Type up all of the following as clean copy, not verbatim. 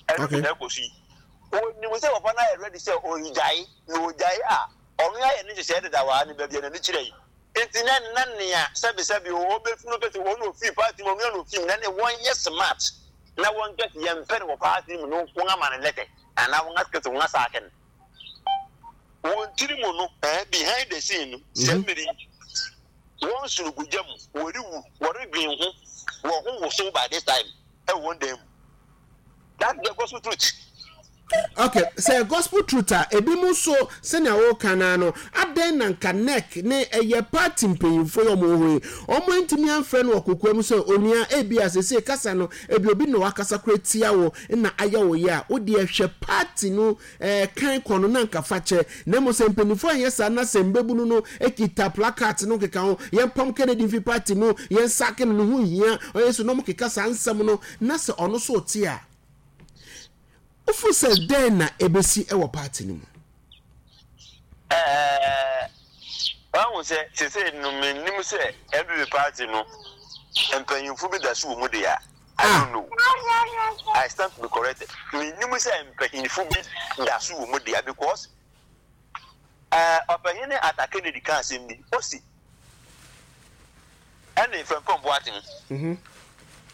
Ɛno bi na ɛkɔ so yi. Wɔnim sɛ papa no ayɛ ready sɛ ɔregyae, na ɔgyae a, ɔno ayɛ ne nhyehyɛe dedaw ara ne baabi a n'ani kyerɛ yi. Nti na na nea sɛbesɛbe o, ɔbɛfi no kɛse, ɔno ofii party mu, ɔno na ofii mu, na ne wɔnyɛ smart na wɔnka sɛ yɛmpɛ no wɔ party mu no, wɔn ama no lɛtɛ anaa wɔn asɛ sɛ wɔn asaake no. Wɔn tiri mu no, eh, behind the scene no, sɛ mmiri yi, wɔn soro gu gya mu, wɔrewu, wɔredwen ho, wɔn ho wosow by this time ɛwɔ wɔn dan mu. That's the gospel truth. Okay, sɛ gospel truth a, ebi mu nso sɛnea wɔka no no, adɛn na nka NEC ne ɛyɛ party mpanyinfoɔ yi wɔn wɔ hɔ yi, wɔn antumi amfrɛ no wɔ kokoa mu sɛ onua ebi a sese kasa no ebi obi na wakasa kora tia wo na ayɛ wo yɛ a, wo deɛ hwɛ party no ɛɛ kan kɔ no na nka fa kyɛ. Na mmom sɛ mpanyinfoɔ anyɛ saa na sɛ mbabunu no kita placards no keka ho, yɛn pam Kennedy mfi party mu, yɛn sake no, ne ho nhia, ɔyɛ so na wɔn keka saa nsɛm no na sɛ ɔno nso te a, wofo sɛ dɛn na ebesi wɔ party no mu? Ɛɛ, wahu sɛ sese no menim sɛ NPP party no mpanyimfo bi da so wɔ mu de a, I ah. don't know. I stand to be corrected. Menim sɛ mpanyimfo bi da so wɔ mu de a because ɛɛ ɔpanyin Arthur Kennedy ka asɛm bi, osi ɛne Frimpong Boateng. Mhm.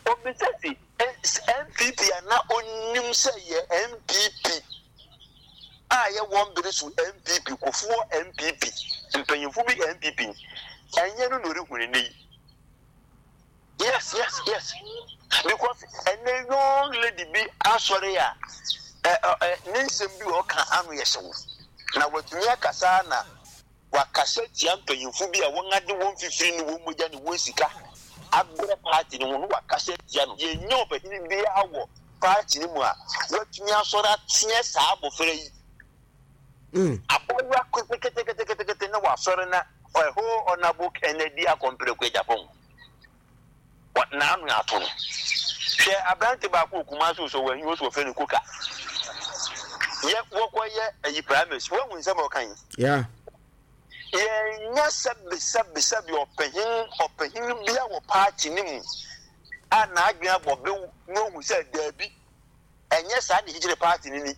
Obisa si NPP a na onim sɛ yɛ NPP a yɛ wɔn bere so NPP, Kufuor NPP, mpanyinfo bi NPP, ɛnyɛ no na ɔrehu ne nnɛ yi. Yes, yes, yes. Because ɛnɛ young lady bi asɔre a ɛ ɛ ne nsɛm bi ɔka ano yɛ hyew na watumi akasa na Wɔakasa atia mpanyimfo bi a wɔade wɔn mfifiri ne wɔn mogya ne wɔn sika abrɛ party no ho no, wɔakasa atia no. Yɛnnya ɔpanyin biara wɔ party no mu a watumi asɔre ateɛ saa abofra yi. Abaayewa keteketekete na wasɔre na ɛhɔ Honourable Kennedy Akompreko Agyapong. N'ano ato no. Hwɛ aberante baako wɔ Kumasi o sɛ wɔahi o sɛ wɔfrɛ no Koka. Yɛ wɔkɔyɛ ayi primaries. Woahu nsɛm a ɔka yi? Yeah. Yɛnya sɛbe sɛbe sɛbe ɔpanyin ɔpanyin bia wɔ party no mu a n'adwene abɔ bew na ohu sɛ daabi ɛnyɛ saa na ɛkyekyere party no ni.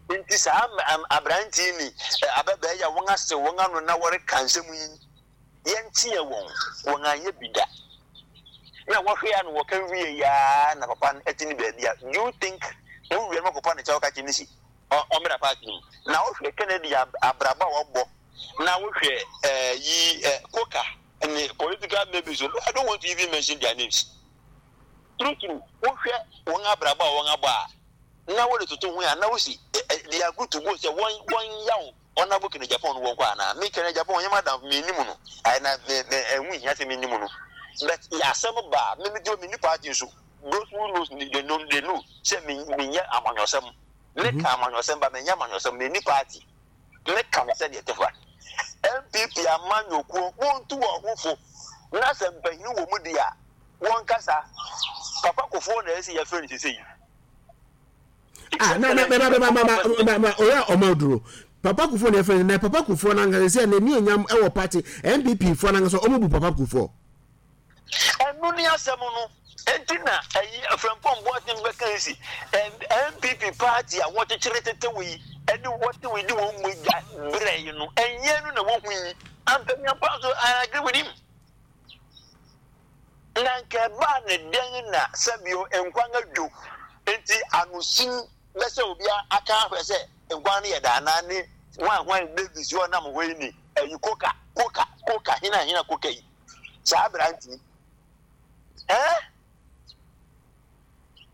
Nti saa aberante yi ne ababaa yi a wɔn asew wɔn ano na wɔreka nsɛm yi yɛnteɛ wɔn, wɔn anyɛ bi da. Na wɔhwɛ a na wɔka wie yi ara na papa no te ne baabi a, do you think wowie no kɔpa ne kyɛw ka kyerɛ ne si ɔmmra party no mu? Na wohwɛ Kennedy abrabɔ a wɔbɔ na wohwɛ eh, yi eh, Koka ne political maybe so, I don't want to even mention their names. True true, wohwɛ wɔn abrabɔ a wɔn abɔ a na wode toto ho a na wosi they are good to go sɛ wɔn wɔn yaw Honourable Kenneth Agyapong no wɔ hɔ anaa? Me Kenneth Agyapong ɔnyɛ m'adamfo, mennim no. Ae na me me ɛho nhia sɛ mennim no. But yɛ asɛm ba a, me me deɛ menni party nso. Those who knows me, they know, they know sɛ me menyɛ amanyɔsɛm. Meka amanyɔsɛm ba menyɛ amanyɔsɛm, menni party. Meka no sɛdeɛ ɛte fa. NPP amanyɔkuo, montu wɔn ho fo na sɛ mpanyin wɔ mu deɛ a, wɔnkasa. Papa Kufuor na ɛsɛ yɛfrɛ no sesei. Ah, na na bɛba bɛba bɛba bɛba ɔyɛ ɔma oduro papa kufuor na ɛfɛ na papa kufuor na nkasa sɛ n'ani onyam ɛwɔ party npp foɔ na nkasa ɔmo bu papa kufuor. Ɛno ne asɛm no enti na ɛyi Frimpong Boateng bɛka yi si NPP party a wɔkyekyere tetew yi ɛde wɔtew yi de wɔn mogya brɛ yi no ɛnyɛ no na wɔhu yi ampanyampa nso I agree with him. Na anka ɛbaa no dɛn na sɛbio nkwan adwo nti anosin bɛsɛ obi aka ahwɛ sɛ nkwan no yɛ dɛ anaa ne hwan hwan Davis yi ɔnam hɔ yi ne ayi koka koka koka hena hena koka yi saa aberante yi eh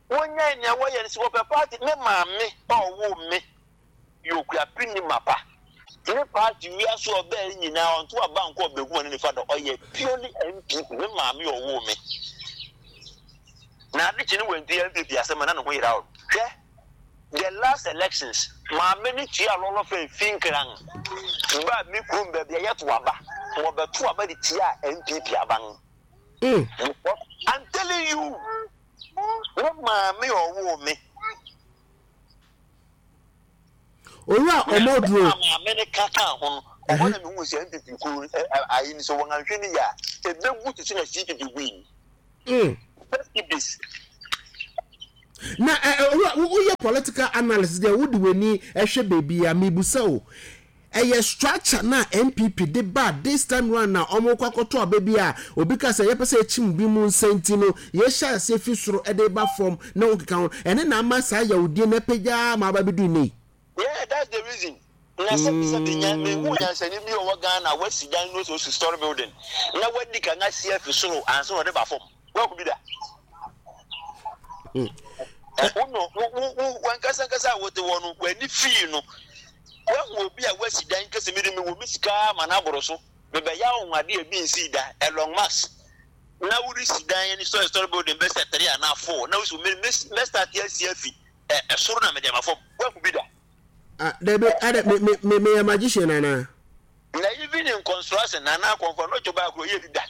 wonyae nea wɔyɛ no sɛ wɔpɛ party me maame a ɔwoo me yɛ okuapeni ni mapa. Ne party wiase ɔbaa yi nyinaa ɔnto aba nkɔ ɔbɛgu ɔne nifa da ɔyɛ purely NPP me maame ɔwoo me na ade kye ne wanti NPP asɛm na ne ho yera hwɛ the last elections maame ne tua lɔlɔ fɛ fi nkran ba me kurom baabi a yɛto aba wɔbɛto aba de tia NPP aban mm. I'm telling you me maame ɔwoo me Owura Omoduro. Na maame no ka kaa ho no, ɛhɔ na mehu sɛ NPP kuo no ayi no sɛ wɔn anhwɛ no yie a, ɛbɛgu te sɛ na CPP gui. Mm. Just keep this. Na owura, woyɛ political analyst deɛ wode w'ani hwɛ baabi a, mebusa o, ɛyɛ structure no a NPP de ba this time round na wɔn kɔ akɔto aba bi a obi ka sɛ yɛpɛ sɛ yɛkyim bi mu nsa nti no yɛhyɛ aseɛ fi soro de ba fam na wɔn keka ho, ɛne na ama saa yawudie no apagya ma aba bɛdu nnɛ yi? Yeah, that's the reason. Na sɛbi sɛbi nya mehu nyansani bi a ɔwɔ Ghana a wasi dan no sɛ osi story building na wadi kan asi afi soro ansa na ɔde ba fam. Wahu bi da? Wo no wo wo wo wankasa nkasa a wote hɔ no w'ani fii no. Wahu obi a wasi dan kɛse mi de me wɔ me sika ma no aboro so. Mebɛyɛ anwonwade a ebi nsii da. Elon Musk na woresi dan ne story story building bɛsɛ 3 anaa 4 na wosi me me mɛ start asi afi ɛsoro na mede ama fam. Wahu bi da? Ah, dabi, ada me me me meyɛ magician anaa? Na even in construction anaa kɔnfɔ no twɛ baako yɛ bi da.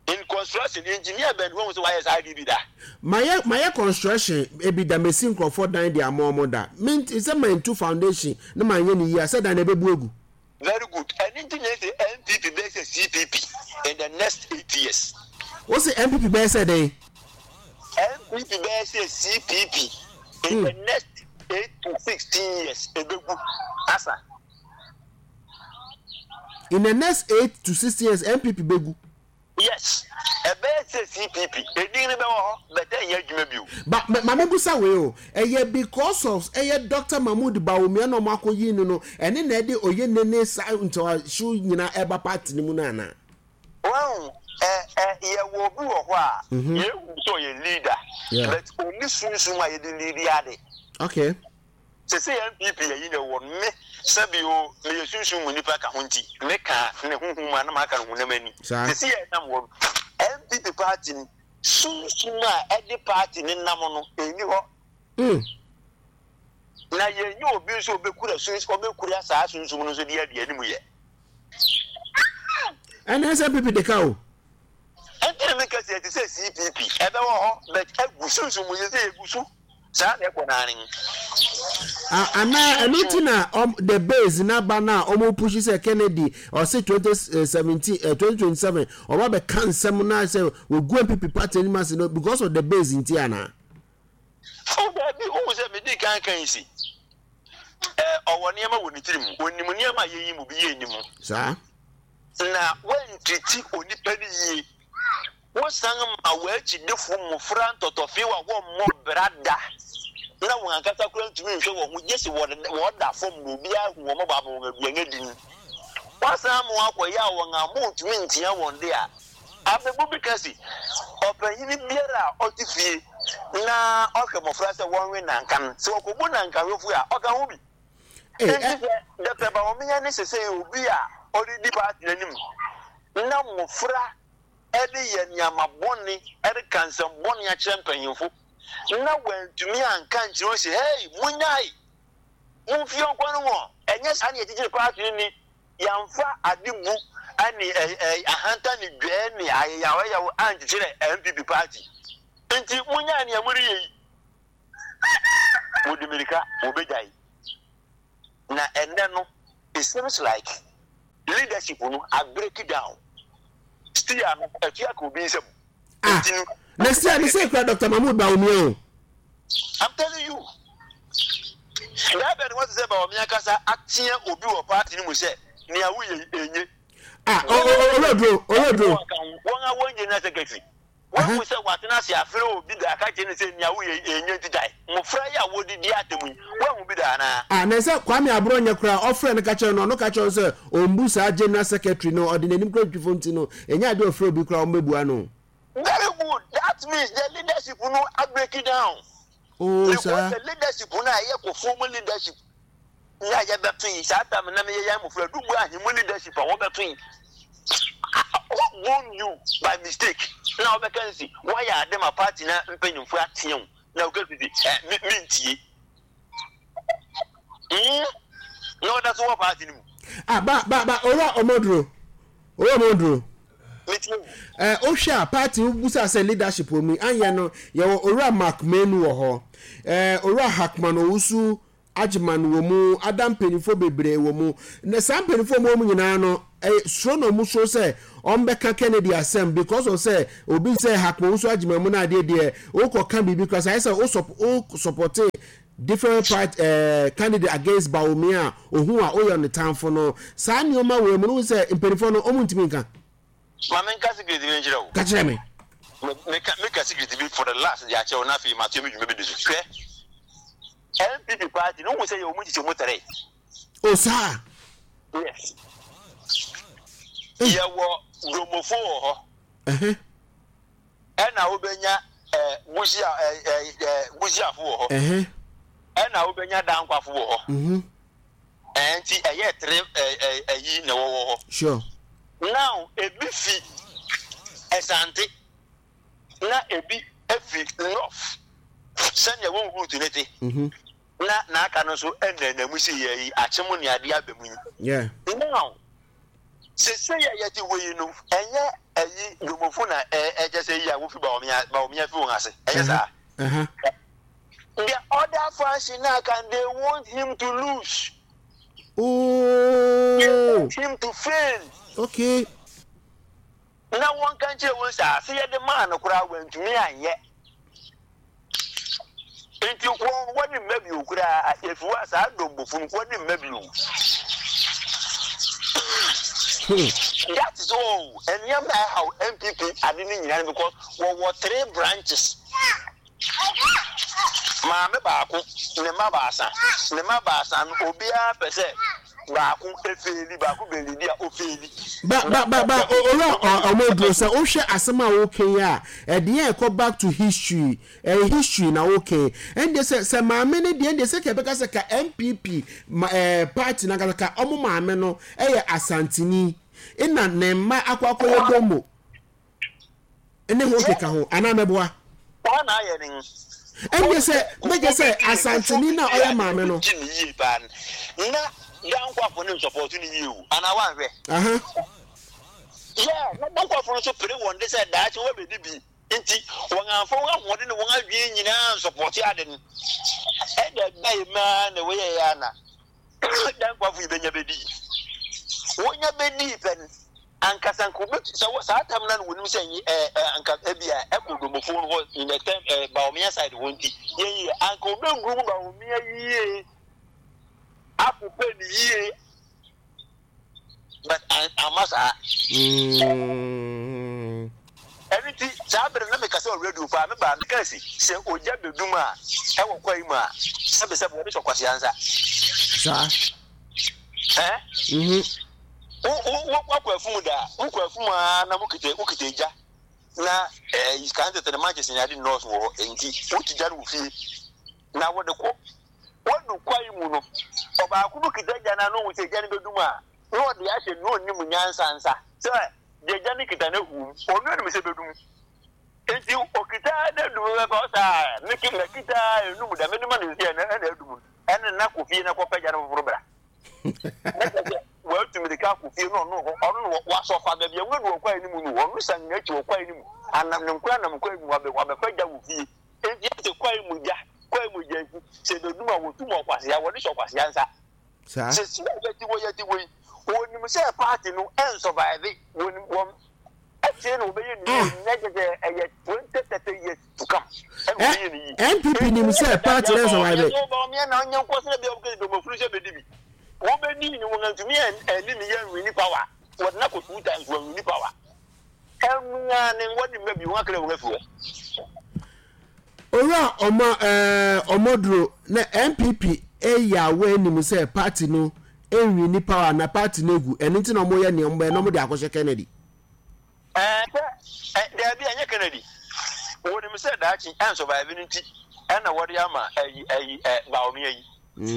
In construction, engineer bɛn wahu sɛ wayɛ saa adeɛ bi da? Mayɛ mayɛ construction ebi da, mesi nkurɔfoɔ dan de ama wɔn da. Me nti sɛ mantu foundation na manyɛ no yie a, sɛ dan no ɛbɛbu agu. Very good, ɛno nti na ɛsɛ NPP bɛyɛ sɛ CPP in the next 8 years. Wo se NPP bɛyɛ sɛ dɛn? NPP bɛyɛ sɛ CPP in the next 8 to 16 years, ɛbɛgu asa. In the next 8 to 16 years NPP bɛgu. Yes, ɛbɛyɛ sɛ CPP edin no bɛwɔ hɔ but ɛnyɛ adwuma bio. Ba ma me busa wei o, ɛyɛ because of ɛyɛ Doctor Mahmood Bawumia na ɔmo akɔ yi no no ɛne na ɛde oye nene saa ntawahyew nyinaa ɛba party no mu no anaa? Wahu, ɛ ɛ yɛwɔ obi wɔ hɔ a yɛhu sɛ ɔyɛ leader but ɔnni sunsum a yɛde leadi ade. Okay. Sesei NPP ayi na ɛwɔ no, me sɛbi o, meyɛ sunsum mu nipa ka ho nti, me ka ne honhom mu a na maka no honam ani. Sesei a ɛnam hɔ no, NPP party no, sunsum a ɛde party no nam no, ɛnni hɔ. Na yɛnyɛ obi nso ɔbɛkura suns ɔbɛkura saa sunsum no nso de adi anim yɛ. Ɛnna ɛsɛ NPP de ka o. Ɛnti na meka sɛ ɛte sɛ CPP, ɛbɛwɔ hɔ but agu sunsum mu, sesei ɛgu so. Saa na ɛkɔ naa ne. Anaa ɛno nti na ɔm the base n'aba no a ɔmo pushi sɛ Kennedy ɔse 2017 eh, 2027 ɔba bɛka nsɛm na sɛ wɔgu NPP party anim ase no because of the base nti anaa? Oh daabi, wohu sɛ medi kan kan yi si eh, ɔwɔ nneɛma wɔ ne tirim, onim nneɛma a yɛyi mu bi yɛ nnim. Saa. Na wantriti onipa no yie. Wosan ma w'akyidifo mmofra ntɔtɔfew a wɔmmɔ bra da, na wɔn ankasa koraa ntumi nhwɛ wɔn ho gye sɛ wɔda fam na obiara hu wɔn mmɔbɔ ama wɔn aduan adi no. Woasan ama wɔakɔyɛ a wɔn a wontumi ntea wɔn de a. Abebu bi ka se, Ɔpanyin biara a ɔte fie na ɔhwɛ mmofra sɛ wɔnwe nnanka no, sɛ wɔkɔbu nnankawefoɔ a, ɔka ho bi. Enti sɛ Dɔkta Bawumia ne sesei obi a ɔredi party no anim na mmofra de yɛ nneɛma bɔne, reka nsɛm bɔne akyerɛ mpanyimfo, na wantumi anka ankyerɛ wɔn sɛ, Hei, munnyae! Mumfi yɛn kwan no mu! Ɛnyɛ saa na yɛkyekyere paati no ni. Yɛamfa ade bu ne ahantan ne dwɛɛ ne ayeyawɔyeyaw ankyekyere NPP paati. Enti munnyae nea moreyɛ yi. Wɔde mmirika, wɔbɛgyae. Na ɛnnɛ no, it seems like leadership no a break down. Steer no afi aka obi nsam. Ah, na steer no sɛ kura Dr. Mahmood Bawumia o. I'm telling you. Daa bɛn wɔte sɛ Bawumia kasa ateɛ obi wɔ party no mu sɛ nea woyɛ yi enye. Ah, owuraduro, owuraduro. Wɔn a wɔn general secretary. Woahu sɛ watena ase afrɛ obi da aka akyerɛ no sɛ nea woyɛ yi ɛnyɛ nti gyae? Mmofra yi a wɔdidi atɛm yi, woahu bi da anaa? Ah, na ɛsɛ Kwame Aborɔnyɛ koraa ɔfrɛ no ka kyerɛ no, ɔno ka kyerɛ no sɛ ɔmbu saa general secretary no, ɔde n'anim kora twitwi fam nti no, ɛnyɛ adeɛ ɔfrɛ obi koraa ɔmmɛbua no. Very good, that means the leadership no a break down. Oh, Because saa. the leadership no a ɛyɛ kɔfoɔ mu leadership yi a yɛbɛto yi, saa time na meyɛ yɛn mmofra dubu ahemmu leadership a wɔbɛto yi, who born you by mistake na wɔbɛka nsi wɔayɛ ade ma party na mpanyimfo ateɛ wo na woka sisi ɛ me mentie mm na wɔda so wɔ party no mu. Ah, ba ba ba owura Omoduro, owura Omoduro. Metie wo. Eh, wohwɛ a party wobusa sɛ leadership wɔ mu yi, anyɛ no yɛwɔ owura Mark Menu wɔ hɔ, eh, owura Hackman Owusu. Agyeman wɔ mu, ada mpanyinfoɔ bebree wɔ mu. Na saa mpanyinfoɔ a wɔwɔ mu nyinaa no, ɛyɛ suro na wɔn suro sɛ wɔn bɛka Kennedy asɛm because of sɛ obi sɛ Hackman Owusu Agyeman mu na adeɛ deɛ wokɔ ka biribi koraa sɛ ayɛ sɛ wo sɔp wo sɔpɔte different part ɛɛ eh, candidate against Bawumia a ohun a woyɛ ne tamfo no. Saa nneɛma wɔ mu no sɛ mpanyinfoɔ no wɔn ntumi nka. Ma me nka secret bi nkyerɛ wo. Ka kyerɛ me. Meka meka secret bi for the last de akyerɛ wo na afei matoa me dwuma bi di so. Hwɛ, NPP party no wohu sɛ yɛwɔ mu nkyekyɛmu tere. O saa? Yes. Yɛwɔ Domofo wɔ hɔ. Ɛhɛ. Ɛna wobɛnya eh, Busia eh, eh, eh, Busiafo wɔ hɔ. Ɛhɛ. Ɛna wobɛnya Dankwafo wɔ hɔ. Mhm. Ɛɛ nti ɛyɛ tere ɛɛ ɛyi na ɛwɔ hɔ. Sure. Now ebi fi Ɛsante na ebi efi North sɛnea wɔn route ne te. Mhm. Na n'aka no nso ɛnna mu si yɛ yi akyem ne adeɛ aba mu yi. Yeah. Now sese yɛ yɛte hɔ yi no ɛnyɛ ɛyi domofo na ɛ ɛkyɛ sɛ yi a wofi Bawumia Bawumia fi wɔn ase ɛnyɛ saa. Uh-huh. The other faction now can they want him to lose. Oh. They want him to fail. Okay. Na wɔn ka nkyerɛ wɔn sɛ ase yɛ de maa no koraa wɔntumi anyɛ. Nti wɔn wɔde mma bio koraa efi hɔ a saa dɔmbɔfo no wɔde mma bio. That is all. Nneɛma a ɛhaw NPP ade no nyinaa because wɔwɔ three branches. Maame baako, ne mma baasa. Ne mma baasa no, obiara pɛ sɛ baako efeeli, baako bɛlidi a ofeeli. Ba ba ba ba owura ɔmɔduro sɛ wohwɛ asɛm a woka yi a ɛdeɛ ɛkɔ back to history ɛyɛ history na woka yi ɛndeɛ sɛ sɛ maame no deɛ ɛndeɛ sɛ ka ɛbɛka sɛ ka NPP ma ɛɛ party no ankasa ka ɔmo maame no ɛyɛ Asanteni ɛna ne mma akɔ akɔyɛ Domo. ne ho keka ho anaa mɛboa. Saa na ayɛ ne. Ɛnde sɛ mɛgye sɛ Asanteni no a ɔyɛ maame no. Gye ne yie paa no na Dankwafo no nsɔpɔto no yie o anaa wanhwɛ. Aha. Yeah, na Dankwafo no nso pere wɔn de sɛ daakye wɔbɛdi bi nti wɔn amfa wɔn ahoɔden ne wɔn adwene nyinaa nsɔpɔto ade no. Ɛna ɛbae maa na wɔyɛɛ yɛ ana Dankwafo yi bɛnya bɛdii. Wɔnya bɛdii pɛ no Ankasa anka obetu sɛ wɔ saa tam no na wɔnim sɛ nye ɛɛ ɛ anka ebi a ɛkɔ domofo no hɔ in the term ɛɛ Bawumia side hɔ nti yɛn yie anka obenguru mu Bawumia yie akopɛ ne yie but amma saa. Mm. Ɛno nti saa bere na mekasa wɔ radio paa me baa meka si sɛ ogya bedum a ɛwɔ kwae mu a sɛbesɛbe wɔde sɔ kwasea nsa. Saa. Ɛɛ? Mhm. Wo wo wo wakɔ afum da wokɔ afum aa na mokita wokita egya na ɛɛ eh, kan tete no manches ne ade nnɔɔso wɔ hɔ nti wotu gya no wɔ fie na wode kɔ wadu kwae mu no ɔbaako bi kita gya no ano hu sɛ gya no bɛdum a na ɔde ahyɛ na ɔnim nyansa nsa sɛ deɛ gya no kita no ahu ɔno anim sɛ bɛdum nti ɔkita na adum bɛbɛ ɔsɛ a meke makita enum da mede ma no sɛ ɛna adum ɛne na kɔ fie na kɔpɛ gya no foforɔ bra Na kyerɛ sɛ watu mirika akɔ fie na ɔno ɔno no wasɔ fa baabi a nwura bi wɔ kwae no mu no ɔno san n'akyi wɔ kwae no mu anam ne nkoa nam kwae mu wabɛ wabɛfa gya wɔ fie enti sɛ kwae mu gya kwae mu gya nti sɛ ebedum a wɔtu mu ɔkwasea wɔde hyɛ ɔkwasea nsa saa sɛ si a yɛte hɔ yɛte hɔ yi wɔnim sɛ paati no ɛnsɔvaeve wɔnim wɔn ɛkyɛ na wɔbɛyɛ ne yie ah na kyerɛ sɛ ɛyɛ 20 30 years to come ɛna wɔbɛyɛ ne yie NPP nim sɛ party no survive. Bawumia na ɔnyɛ nkɔ sɛ bia wɔkɛ dɔmafunu sɛ bɛdi bi wɔbɛdi ne wɔn antumi ɛne ne yɛ nwini power wɔde no akɔ two times wɔn nwini power ɛnua ne wɔde mma bi wɔn akra wɔn afi hɔ. Owura ɔma ɛɛ ɔmɔduro na NPP ɛyɛ awɔ anim sɛ party no nwini power na party no egu ɛno nti na wɔyɛ nea wɔbɛyɛ na wɔde akɔhyɛ Kennedy. Ɛɛ sɛ ɛ daabi ɛnyɛ Kennedy. Wɔnim sɛ daakye ɛnsurvive no nti ɛna wɔde ama ɛyi ɛyi ɛ Bawumia yi.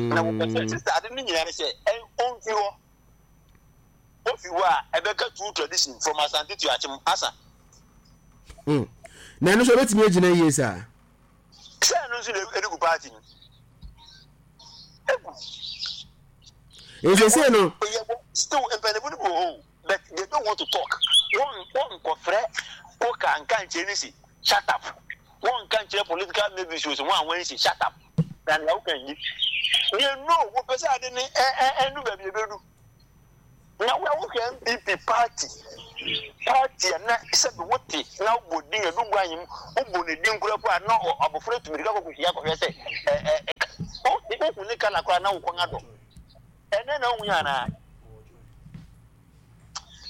Na wɔpɛ sɛ sista ade no nyinaa ne sɛ ɛ ɔmfi hɔ. Ofi hɔ a ɛbɛka true tradition from Asante to Akyem asa. Mm. Na ɛno nso ɛbɛtumi agyina yie saa. Sɛ ɛno nso na ɛde gu party no. Egu. Nsese no. Still mpanyinfo no bi wɔ hɔ o. But they don't want to talk. Wɔn wɔn nkɔfrɛ koka nka nkyerɛ ne si shut up. Wɔn nka nkyerɛ political mavis o sɛ wɔn a wɔn si shut up. Na nea woka nyi. They know wɔpɛ sɛ ade no ɛnu baabi ebedu. Na wo a wohwɛ NPP party party a na sɛbi wote na wobɔ din Adu Guanyem wobɔ ne din koraa po a na abɔfra tu mirika kɔ kɔhyia kɔhwɛ sɛ ɛ ɛ wohu ne kala koraa na wo kɔn adɔ. Ɛnɛ na wohu yɛ anaa?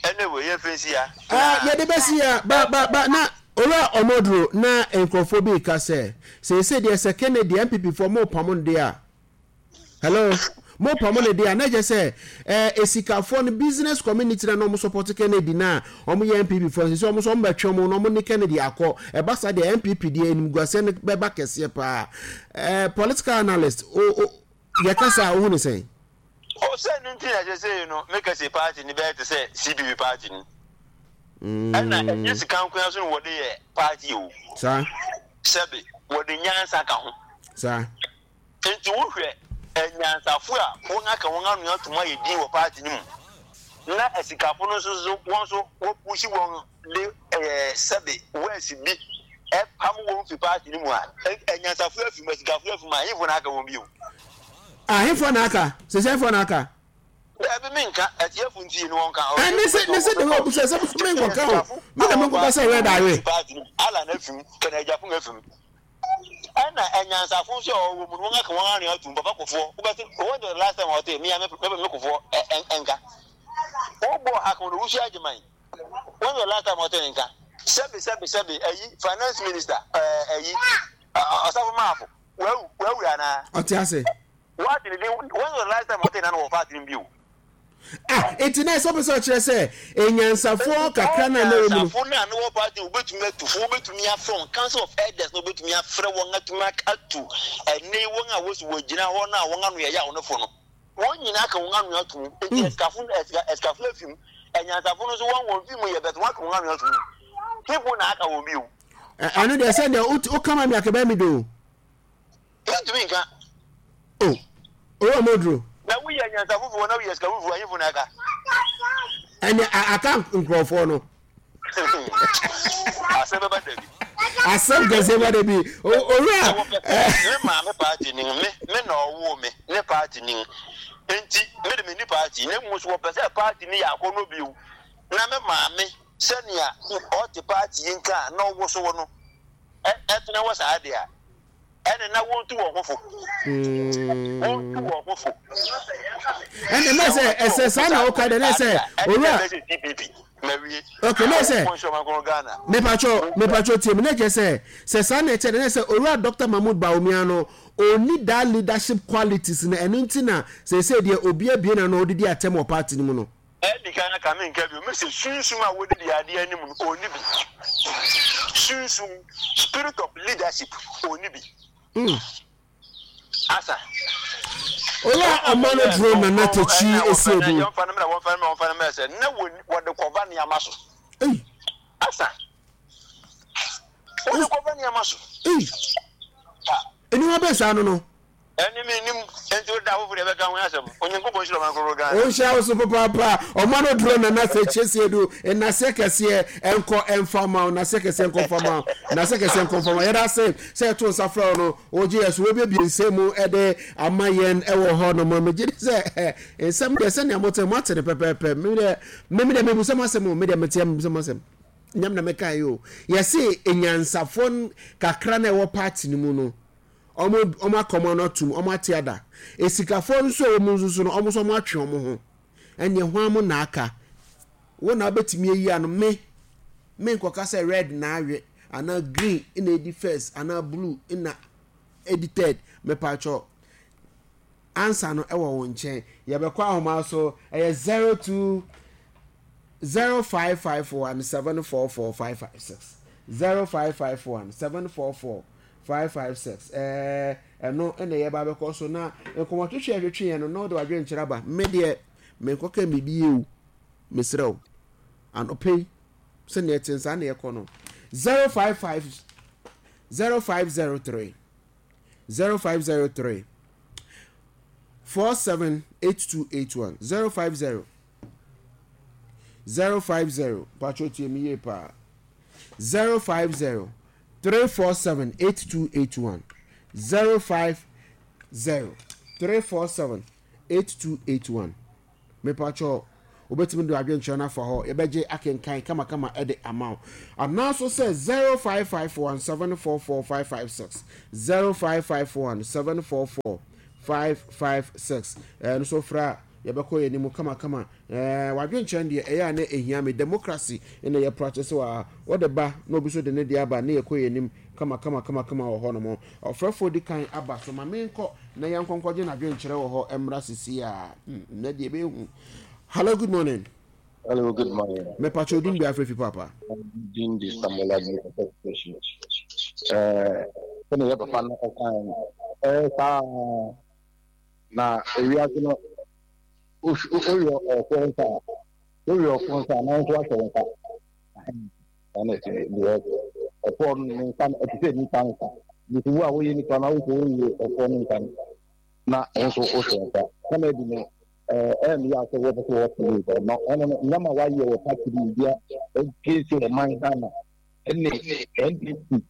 Anyway, yɛmfa nsi ha. Ah, yɛde bɛsi ha. Ba, ba, ba, na Owura Omoduro, na nkurɔfoɔ bi reka sɛ, seesei deɛ sɛ Kennedy, NPP foɔ, mopamo no deɛ a, hello, mopamo no deɛ a, na kyerɛ sɛ, eh, esikafoɔ no, business community na na wɔn support Kennedy na wɔn yɛ NPP foɔ, seesei wɔn nso wɔn bɛtwe wɔn na wɔn ne Kennedy akɔ. Ɛba saa deɛ, NPP deɛ, animguaseɛ no bɛba kɛseɛ paa. Eh, political analyst, o, o, yɛkasa a, wohu ne sɛn? O sɛ no nti na sesei no meka se party no bɛyɛ te sɛ CPP party no. Ɛna ɛnyɛ sika nko ara so na wɔde yɛ party o. Saa. Sɛbe wɔde nyansa ka ho. Saa. Nti wohwɛ anyansafo a wɔn aka wɔn ano atum ayɛ din wɔ party no mu na asikafo no nso so wɔn nso wɔpushi wɔn de ɛɛ sɛbe wɛs bi ɛpam wɔn fi party no mu a, anyansafo afi mu, asikafo afi mu a, ahemfo na aka wɔn bio. Ahemfo na aka? Sese ahemfo na aka? Daabi menka, atiefo ntie ne wɔn ka. Ɛ ne se ne se de wɔ busa sɛ me nkɔka o. Me na me nkɔka sɛ red awe. Alan afi mu, Kenneth Agyapong afi mu. Ɛna anyansafo nso a wɔwɔ mu no wɔn aka wɔn ano atum. Papa Kofoɔ, wobɛte, when was the last time a wɔte me a me me Kofoɔ nka? Wobɔ Hakeman Owusu Agyeman. When was the last time ɔte ne nka? Sɛbi sɛbi sɛbi ayi finance minister ɛɛ ayi Ɔsafo Maafo wawu wawu anaa? Ɔte ase. Wate ne din when was the last time ɔte nano wɔ party no bio? Ah, eti na ɛsɛ ɔpɛ sɛ ɔkyerɛ sɛ enyansafoɔ kakra na na wɔ mu no. Enyansafo na na wɔ party wobɛtumi atu fo wobɛtumi afrɛ wɔn council of elders na wobɛtumi afrɛ wɔn atumi atu ɛne wɔn a wɔsi wɔgyina hɔ na wɔn ano yɛ yaw no fo no. Wɔn nyinaa ka wɔn ano ato mu. Enti asikafo no, asika, asikafo no afi mu. Anyansafo no nso, wɔn wɔn fi mu yɛ bɛtɛ, wɔaka wɔn ano ato mu. People na aka wɔn bio. Ɛno deɛ sɛ deɛ woka ma me akɛbɛn mi do. Yɛntumi nka. O, owura Moduro. Na woyɛ anyansafo foɔ na woyɛ asikafo foɔ, ahemfo na aka. Ɛnɛ aka nkurɔfoɔ no. Asɛm bɛba da bi. Asɛm kɛseɛ ba da bi. Owura. Me maame paati ni me me na ɔwoo me ne paati ni nti me de me ni paati na mmom so wɔpɛ sɛ paati ni yɛ akɔnnɔ bio na me maame sɛnea ɔte paati yi nka a na ɔwosow no ɛtena hɔ saa de a ɛne na wɔntu wɔn ho fo. Wɔntu wɔn ho fo. Ɛnna na sɛ ɛsɛ saa na ɔka dɛ na sɛ owura. Ok na sɛ mepatwɔ mepatwɔ tie mu na kyerɛ sɛ sɛ saa na ɛkyɛ dɛ na sɛ owura Dr. Mahmood Bawumia no ɔnni that leadership qualities na ɛno nti na sɛsɛ deɛ obi abie na no ɔdidi atɛm wɔ party no mu no. Adi kan aka, menka bio, mese sunsum a wɔde di adeɛ anim no, ɔnni bi. Sunsum, spirit of leadership, ɔnni bi. Mm. Asa. Owura ɔma no duro Nana Takyi Esiedu. Wɔmfa no mmerɛ, wɔmfa no mmerɛ, wɔmfa no mmerɛ sɛ na wɔde kɔva nneɛma so. Asa. Wɔde kɔva nneɛma so. Nneɛma bɛn saa no no? Ɛne me nim enti wo da foforo yɛbɛka ho asɛm. Onyankopɔn nhyira ɔman kronkron Ghana. Ɔnhyira wo so papaapa. Ɔma no duro Nana Sɛ Siedu. Nnaseɛ kɛseɛ nkɔ mfa ma wo. Nnaseɛ kɛseɛ nkɔ mfa ma wo. Nnaseɛ kɛseɛ nkɔ mfa ma wo. Yɛda ase sɛ yɛto nsa frɛ wo no, wogye yɛn so. Wobiebie nsɛm mu de ama yɛn wɔ hɔ nom. Megye di sɛ nsɛm deɛ sɛnea mote moate no pɛpɛɛpɛ. Me deɛ me deɛ mebisa mo asɛm o. Me deɛ meteɛ mebisa mo asɛm. Nyam na mekae o. Yɛse anyansafoɔ kakra na ɛwɔ party no mu no, Wɔn wɔn aka wɔn ano atum, wɔn ate ada. Esikafoɔ nso a wɔn nso so no, wɔn nso wɔn atwe wɔn ho. Ɛnneɛ hwan mo na aka? Wo na wobɛtumi ayi ano. Me, me nkɔka sɛ red na awe, anaa green na edi first, anaa blue na edi third. Mepatwɔ, ansa no ɛwɔ wo nkyɛn. Yɛbɛkɔ ahoma so, ɛyɛ 02 0551 744 556. 0551 744 556 ɛɛ ɛno na yɛba abɛkɔ so na nkɔmmɔtwetwe a yɛtwetwe yɛn no na wode w'adwenkyerɛ aba. Me deɛ menkɔka biribi yie o, mesrɛ wo. Anɔpa yi sɛnea ɛte saa na yɛkɔ no. 055 0503 0503 478281 050 050 patro tie me yie paa 050 347 8281 050 347 8281. Mepakyɛw, wobɛtumi de w'adwenkyerɛ no afa hɔ, yɛbɛgye akenkan kamakama de ama wo. Anaa nso sɛ 0551 744 556, 0551 744 556. Ɛno nso frɛ a, yɛbɛkɔ yɛn anim kamakama. Ɛɛ, w'adwenkyerɛ no deɛ, ɛyɛ a na ɛhia me. Democracy na yɛ practice wɔ ha. Wode ba na obi nso de ne deɛ aba na yɛkɔ yɛn anim kamakama kamakama wɔ hɔnom. Ɔfrɛfoɔ di kan aba so, ma menkɔ na yɛnkɔ nkɔgye n'adwenkyerɛ wɔ hɔ mmra seesei ara. Hmm, nnɛ deɛ ɛbɛyɛ hu. Hello, good morning. Hello, good morning. Mepakyɛ odin bi afrɛ fi papa. Din di Samuel Adu station. Eh, sɛnea yɛ papa no ɔkan no, ɛyɛ saa na ewiase no woyɛ ɔfo nsa a, woyɛ ɔfo nsa a, na nso ahyɛ wo nsa. Saa na ɛte deɛ ɔfo no ne nsa no ɛte sɛ nipa nsa. Nti wo a woyɛ nipa no wosɛ woyɛ ɔfo no nsa no na wo nso wohyɛ nsa. Sɛnea ɛdi no ɛyɛ me yaw sɛ wɔpɛ sɛ wɔte wei na ɔno no nneɛma a wayɛ wɔ party no mu bia ɛgye ɔman Ghana ɛne NDC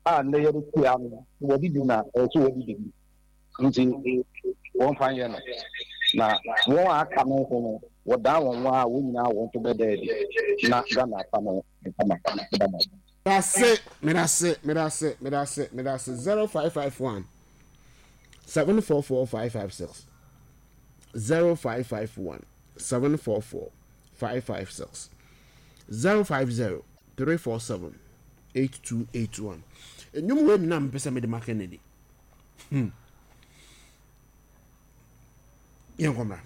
a nnɛ yɛde tia no wɔde bi na ɛwɔ sɛ wɔde bi nti wɔmfa nyɛ no na wɔn a aka no nso no wɔdan wɔn ho a wɔn nyinaa wɔn nso bɛda adi na Ghana afa no nkama dama. Medase, medase, medase, medase, medase, 0551 744 556, 0551 744 556, 050 347 8281. Nnwom wei na mepɛ sɛ mede ma Kennedy. Hmm. Yɛnkɔ mmra.